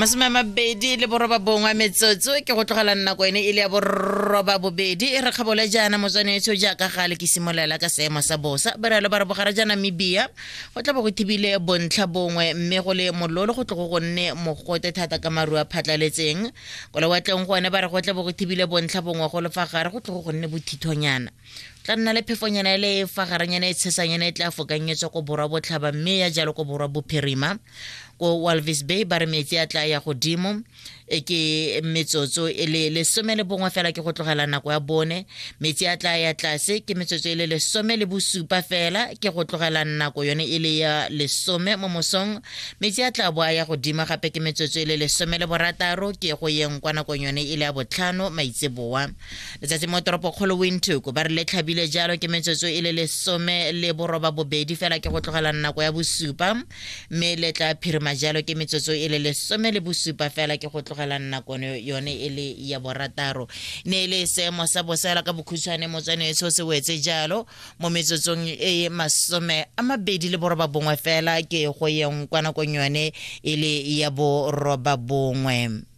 29 metsotso ke go tlogela nako ene e le ya boroba bobedi e re kgabole jaana motswanetsho jaaka gale ke simolola ka seemo sa bosa berelo ba re bogare ja Namibia go tla bo go thibile bontlha bongwe mme go le mololo go tlogo go nne mogote thata ka maru a phatlaletseng ko lewatleng gone ba re go tla bo go thibile bontlha bongwe go le fa gare go tlogo go nne bothithonyana tla nna le phefonyana e le e fa garenyana e tshesanyana e tla fokanyetswa ko borwa botlhaba mme ya jalo ko borwa bophirima ko Walvis Bay ba re metsi a tla ya godimo e ke metsotso e le 11 fela ke go tlogela nako ya bone. Metsi a tla ya tlase ke metsotso e le 17 fela ke go tlogela nako yone e le ya 10 mo mosong. Metsi a tla bo a ya godimo gape ke metsotso e le 16 ke go yeng kwa nakong yone e le ya 5 maitseboa. Letsatsi mo toropokgolo Windhoek ba re le tlhabile jalo ke metsotso e le 18 fela ke go tlogela nako ya 7, mme le tla phirima jalo ke metsotso e le 17 fela ke go tlogela nako yone e le ya 6. Ne e le seemo sa bosela ka bokhutshwane motswaneso se wetse jalo mo metsotsong e 29 fela ke go yeng kwa nakong yone e le ya 9.